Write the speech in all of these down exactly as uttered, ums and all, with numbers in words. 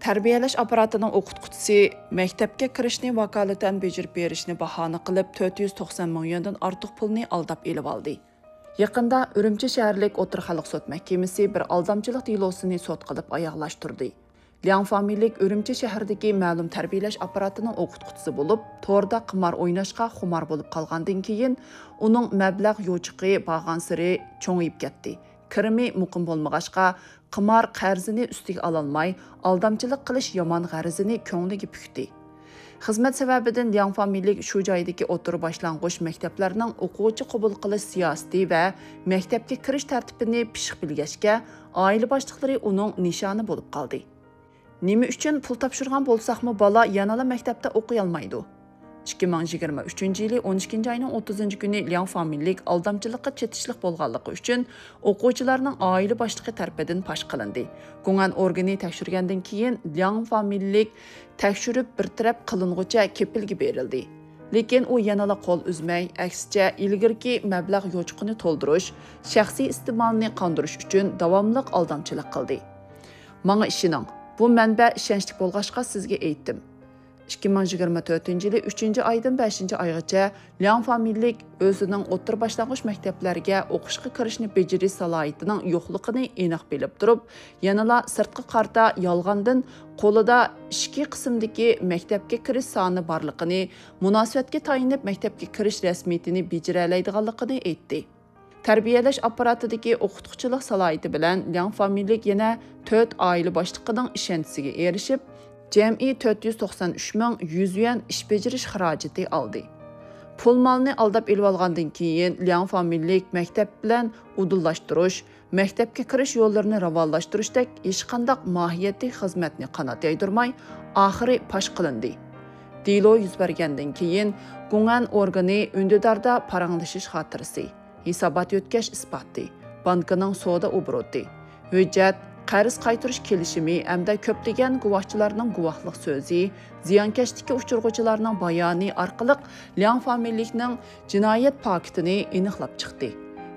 تەربىيەلەش ئاپپاراتىنىڭ ئوقۇتقۇچىسى مەكتەپكە كىرىشنى ۋاكالىتەن بېجىرىپ بېرىشنى باھانە قىلىپ، تۆت يۈز توقسان مىڭ يۈەندىن ئارتۇق پۇلنى ئالداپ ئېلىۋالدى. يېقىندا ئۈرۈمچى شەھەرلىك ئوتتۇرا خەلق سوت مەھكىمىسى بىر ئالدامچىلىق دېلوسىنى سوت قىلىپ ئاياغلاشتۇردى. لياڭ فامىلىلىك ئۈرۈمچى شەھىرىدىكى مەلۇم تەربىيەلەش ئاپپاراتىنىڭ ئوقۇتقۇچىسى بولۇپ، توردا قىمار ئويناشقا خۇمار بولۇپ قالغاندىن كېيىن، ئۇنىڭ مەبلەغ يوچۇقى بارغانسېرى چوڭىيىپ كەتتى. كىرىمى مۇقىم بولمىغاچقا، قىمار قەرزىنى ئۈستىگە ئالالماي، ئالدامچىلىق قىلىش يامان غەرىزىنى كۆڭلىگە پۈكتى. خىزمەت سەۋەبىدىن لياڭ فامىلىلىك شۇ جايدىكى ئوتتۇرا باشلانغۇچ مەكتەپلەرنىڭ ئوقۇغۇچى قوبۇل قىلىش سىياسىتى ۋە مەكتەپكە كىرىش تەرتىپىنى پىششىق بىلگەچكە، ئائىلە باشلىقلىرى ئۇنىڭ نىشانى بولۇپ قالدى. نېمە ئۈچۈن پۇل تاپشۇرغان بولساقمۇ، بالا يەنىلا مەكتەپتە ئوقۇيالمايدۇ؟ ئىككى مىڭ يىگىرمە ئۈچىنچى يىلى ئون ئىككىنچى ئاينىڭ ئوتتۇزىنچى كۈنى لياڭ فامىلىلىك ئالدامچىلىققا چېتىشلىق بولغانلىقى ئۈچۈن ئوقۇغۇچىلارنىڭ ئائىلە باشلىقى تەرىپىدىن پاش قىلىندى. گۇڭئەن ئورگىنى تەكشۈرگەندىن كېيىن، لياڭ فامىلىلىك تەكشۈرۈپ بىر تەرەپ قىلىنغۇچە كېپىلگە بېرىلدى. لېكىن ئۇ يەنىلا قول ئۈزمەي، ئەكسىچە، ئىلگىرىكى مەبلەغ يوچۇقىنى تولدۇرۇش، شەخسىي ئىستېمالنى قاندۇرۇش ئۈچۈن داۋاملىق ئالدامچىلىق قىلدى. ماڭا ئىشىنىڭ، بۇ مەنبە ئىشەنچلىك بولغاچقا سىزگە ئېيتتىم. ئىككى مىڭ يىگىرمە تۆتىنچى يىلى ئۈچىنچى ئايدىن بەشىنچى ئايغىچە لياڭ فامىلىلىك ئۆزىنىڭ ئوتتۇرا باشلانغۇچ مەكتەپلەرگە ئوقۇشقا كىرىشنى بېجىرىش سالاھىيىتىنىڭ يوقلۇقىنى ئېنىق بىلىپ تۇرۇپ، يەنىلا سىرتقا قارىتا يالغاندىن قولىدا ئىچكى قىسىمدىكى مەكتەپكە كىرىش سانى بارلىقىنى، مۇناسىۋەتكە تايىنىپ مەكتەپكە كىرىش رەسمىيىتىنى بېجىرەلەيدىغانلىقىنى ئېيتتى. تەربىيەلەش ئاپپاراتىدىكى ئوقۇتقۇچىلىق سالاھىيىتى بىلەن لياڭ فامىلىلىك يەنە تۆت ئائىلە باشلىقىنىڭ ئىشەنچىسىگە ئېرىشىپ، جەمئىي تۆت يۈز توقسان ئۈچ مىڭ يۈز يۈەن ئىش بېجىرىش خىراجىتى ئالدى. پۇل مالنى ئالداپ ئېلىۋالغاندىن كېيىن، لياڭ فامىلىلىك مەكتەپ بىلەن ئۇدۇللاشتۇرۇش، مەكتەپكە كىرىش يوللىرىنى راۋانلاشتۇرۇشتەك ھېچقانداق ماھىيەتلىك خىزمەتنى قانات يايدۇرماي، ئاخىرى پاش قىلىندى. دېلو يۈز بەرگەندىن كېيىن، گۇڭئەن ئورگىنى ئۈندىداردا پاراڭلىشىش خاتىرىسى، ھېسابات يۆتكەش ئىسپاتى، بانكىنىڭ سودا ئوبوروتى، ھۆججەت، قەرز قايتۇرۇش كېلىشىمى ھەمدە كۆپلىگەن گۇۋاھچىلارنىڭ گۇۋاھلىق سۆزى، زىيانكەشلىككە ئۇچرىغۇچىلارنىڭ بايانى ئارقىلىق لياڭ فامىلىلىكنىڭ جىنايەت پاكىتىنى ئېنىقلاپ چىقتى.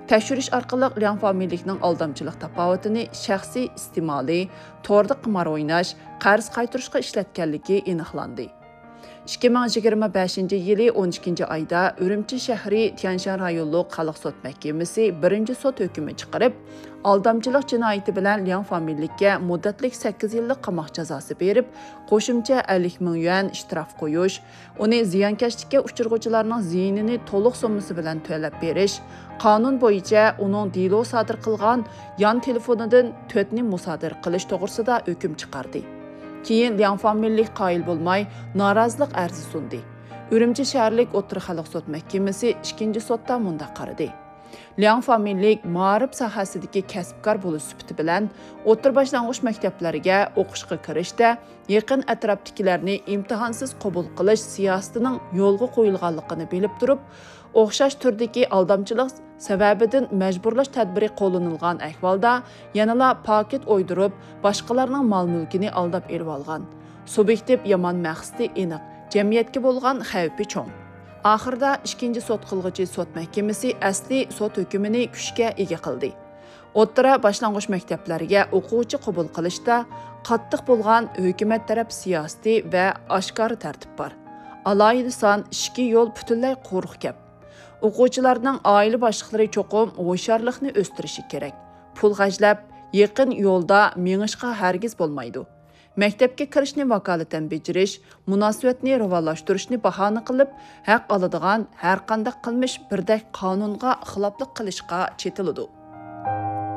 تەكشۈرۈش ئارقىلىق لياڭ فامىلىلىكنىڭ ئالدامچىلىق تاپاۋىتىنى شەخسىي ئىستېمالى، توردا قىمار ئويناش، قەرز قايتۇرۇشقا ئىشلەتكەنلىكى ئېنىقلاندى. ئىككى مىڭ يىگىرمە بەشىنچى يىلى ئون ئىككىنچى ئايدا ئۈرۈمچى شەھىرى تيەنشان رايونلۇق خەلق سوت مەھكىمىسى بىرىنچى سوت ھۆكمى چىقىرىپ، ئالدامچىلىق جىنايىتى بىلەن لياڭ فامىلىلىككە مۇددەتلىك سەككىز يىللىق قاماق جازاسى بېرىپ، قوشۇمچە ئەللىك مىڭ يۈەن شتراف قويۇش، ئۇنى زىيانكەشلىككە ئۇچرىغۇچىلارنىڭ زىيىنىنى تولۇق سوممىسى بىلەن تۆلەپ بېرىش، قانۇن بويىچە ئۇنىڭ دېلو سادىر قىلغان يان تېلېفونىدىن تۆتنى مۇسادىرە قىلىش توغرىسىدا ھۆكۈم چىقاردى. كېيىن لياڭ فامىلىلىك قايىل بولماي، نارازىلىق ئەرزى سۇندى. ئۈرۈمچى شەھەرلىك ئوتتۇرا خەلق سوت مەھكىمىسى ئىككىنچى سوتتا مۇنداق قارىدى: لياڭ فامىلىلىك مائارىپ ساھەسىدىكى كەسىپكار بولۇش سۈپىتى بىلەن ئوتتۇرا باشلانغۇچ مەكتەپلەرگە ئوقۇشقا كىرىشتە يېقىن ئەتراپتىكىلەرنى ئىمتىھانسىز قوبۇل قىلىش سىياسىتىنىڭ يولغا قويۇلغانلىقىنى بىلىپ تۇرۇپ، ئوخشاش تۈردىكى ئالدامچىلىق سەۋەبىدىن مەجبۇرلاش تەدبىرى قوللىنىلغان ئەھۋالدا يەنىلا پاكىت ئويدۇرۇپ، باشقىلارنىڭ مال-مۈلكىنى ئالداپ ئېلىۋالغان. سۇبيېكتىپ يامان مەقسىتى ئېنىق، جەمئىيەتكە بولغان خەۋپى چوڭ. ئاخىرىدا ئىككىنچى سوت قىلغۇچى سوت مەھكىمىسى ئەسلىي سوت ھۆكمىنى كۈچكە ئىگە قىلدى. ئوتتۇرا، باشلانغۇچ مەكتەپلەرگە ئوقۇغۇچى قوبۇل قىلىشتا قاتتىق بولغان ھۆكۈمەت تەرەپ سىياسىتى ۋە ئاشكارا تەرتىپ بار. ئالاھىدە سان، ئىچكى يول پۈتۈنلەي قۇرۇق گەپ. ئوقۇغۇچىلارنىڭ ئائىلە باشلىقلىرى چوقۇم ھوشيارلىقنى ئۆستۈرۈشى كېرەك. پۇل خەجلەپ، يېقىن يولدا مېڭىشقا ھەرگىز بولمايدۇ. مەكتەپكە كىرىشنى ۋاكالىتەن بېجىرىش، مۇناسىۋەتنى راۋانلاشتۇرۇشنى باھانە قىلىپ، ھەق ئالىدىغان ھەرقانداق قىلمىش بىردەك قانۇنغا خىلاپلىق قىلىشقا چېتىلىدۇ.